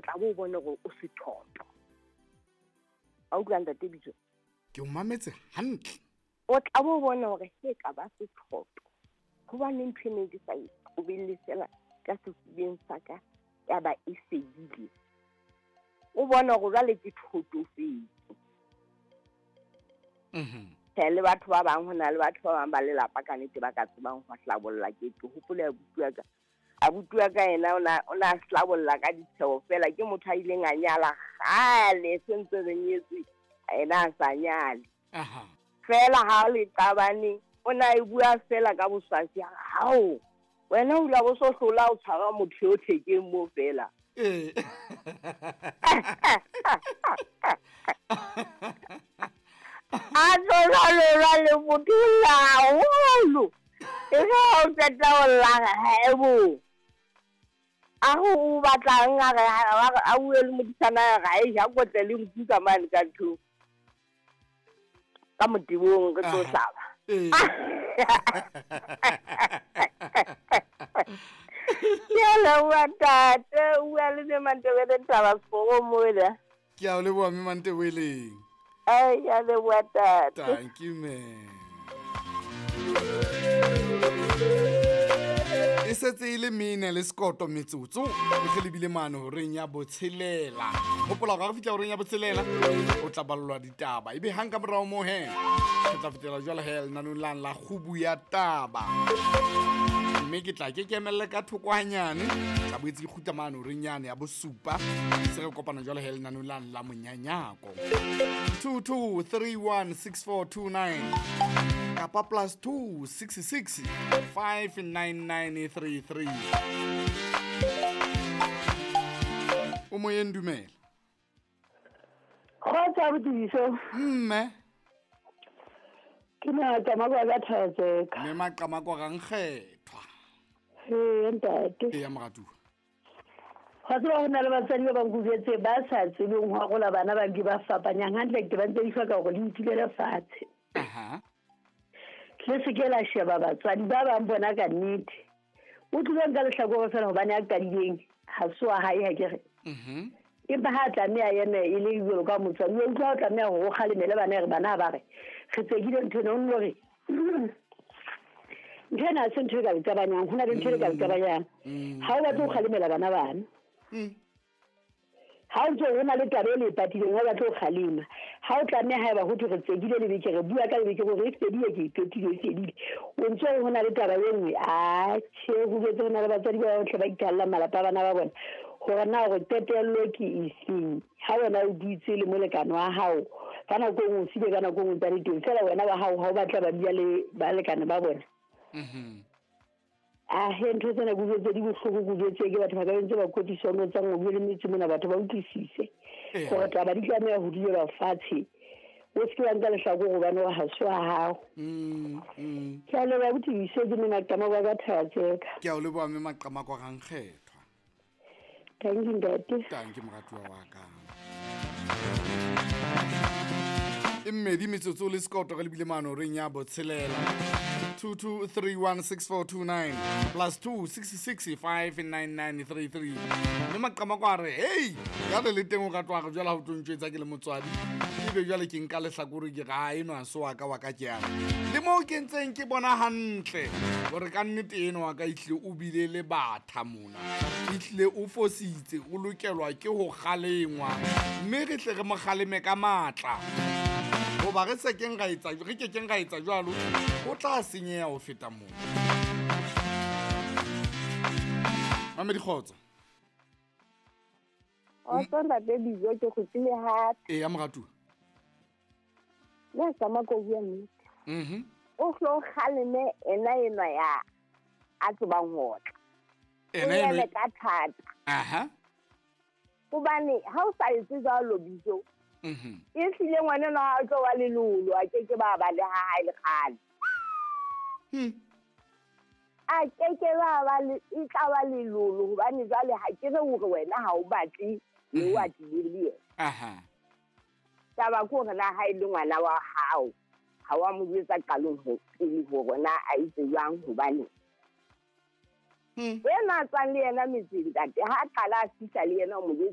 tla bo bone gore o sethoto. A utlwa ntate Bijo? Ke o mametse hantle. O tla bo bone gore he ka ba sethoto. Hobane ntho e ne ke sa e qobelle fela ka sefubeng sa ka ya ba e fedile. O bona gore jwale ke thotofetse. Tjhe, le batho ba bang, ho na le batho ba bang ba lelapa ka nnete ba ka tsebang ho hlabolla. Ke hopola abuti wa ka. Abuti wa ka yena o na hlabolla ka ditsheho fela. Ke motho a ileng a nyala kgale, se ntse re nyetswe, yena a sa nyale. Fela ha le qabane, o na e bua fela ka boswasi, hao wena o la bo so hlola o tshwara motho yo thekeng mo fela. A tlola lora le motho la haholo. E re ha o qeta ho lla haebo. A ho o batlang a re a bue le modisana a re a e ja kotle le nku ka mane ka nthong. Ka motebong re tlo hlaba. Ke a leboha ntate, o bua le Mme Mantebele Thaba Sekgoro mola. Ke a o leboha Mme Mantebeleng. Ai, ke a leboha ntate. Thank you, man. E setse e le mene le sekoto metsotso e ge lebile mane horeng ya botshelela. Hopola gore ga re fihla horeng ya botshelela o tla ballwa ditaba, ebe hang ka morao moo he re tla fetela jwale he lenanong lang la kgubu ya taba, mme ke tla ke kemelle ka thoko hanyane, tla boetse ke kgutla mane horeng yane ya bosupa, se re kopana jwale he lenanong lang la monyanyako. 22316429 kapa +2 66 59933. O moyeng, dumela. Kgotsa abuti. Mme. Ke Maqamako ka Thatseka. Mme Maqamako ga nkgethwa. Ee, ntate. Ee, ya moratuwa. Ga tseba go na le batswadi ba bang kujetse ba sa tsebeng ho arola bana ba nke ba fapanyang hantle, ke ba ntse di hloka hore le itulele fatshe. Le se ke la sheba batswadi ba bang bona ka nnete. O tlile nka lehlakore fela hobane a qadileng ha se wa hae, ha ke re. Empa ha tlameha eme e le jwalo ka motswadi, o utlwa o tlameha hore o kgalemele bana, re bana ba re re tsekile ntho ena, o nno re ntho ena ha se ntho e ka le qabanyang, ho na le ntho e ka le qabanyang. Ha o batle ho kgalemela bana bana. Ha o ntse ho na le taba e le patileng, ha o batle ho kgalema. Ha o tlameha haeba ho thwe re tsekile lebeke, re bua ka lebeke hore e fedile, ke e qetile, e fedile. O ntse ho na le taba e nngwe, atjhe, ho boetse ho na le batswadi ba bohle ba ikallang malapa a bana ba bona. Hore na hore qetello ke efeng. Ha wena o dutse le molekane wa hao, ka nako e nngwe o sile, ka nako e nngwe o ntse a le teng. Feela wena wa hao ha o batla ba dula le balekane ba bona. Ahe, ntho tsena ke utlwetse di bohloko, ke utlwetse ke batho ba ka ntse ba kwetlisa no tsa ngo le metse mona, batho ba utlwisise hore taba di tlameha ho dulelwa fatshe. O se ke wa nka lehlakore hobane wa ha se wa hao. Ke a leboha abuti Biso, ke Mme Maqamako ka Thatseka. Ke a o leboha Mme Maqamako ga nkgethwa. Thank you ntate. Thank you moratuwa wa ka. E mmedi metsotso le sekoto re lebile mane horeng ya botshelela. 22316429 +2 66 59933. Mme Maqamako a re, hey, ya le le teng o ka tloha re jwale ha o tlo ntjwetsa ke le motswadi. Ebe jwale ke nka lehlakore ke re, ha enwa se wa ka wa ka ke yana. Le moo ke ntseng ke bona hantle hore ka nnete enwa wa ka ehlile o bile le batha mona. Ehlile o fositse, o lokelwa ke ho kgalengwa. Mme re tle re mo kgaleme ka matla. Hoba re se keng ra etsa, re ke keng ra etsa jwalo, o tla senyeha ho feta moo. Mamedi kgotso. Kgotso ntate Bijo, ke kgutlile hape. Ee, ya moratuwa. Le tsamaya ko bua nnete. O hlo kgaleme ena enwa ya a tsebang ho otla. Ena O enwa eme ka thata. Hobane ha o sa etse jwalo Bijo, e hlile ngwana enwa ha o tlo wa lelolo, a ke ke ba ba le ha hae le kgale. A ke ke ba ba le, e tla ba lelolo hobane jwale ha ke re hore wena ha o batle le wa tlile le yena. Taba ke hore na ha e le ngwana wa hao, ha wa mo jwetsa qalong ho pele hore na a itse jwang hobane. Yena a tswang le yena metseng ntate, ha a qala a fihla le yena o mo jwetsa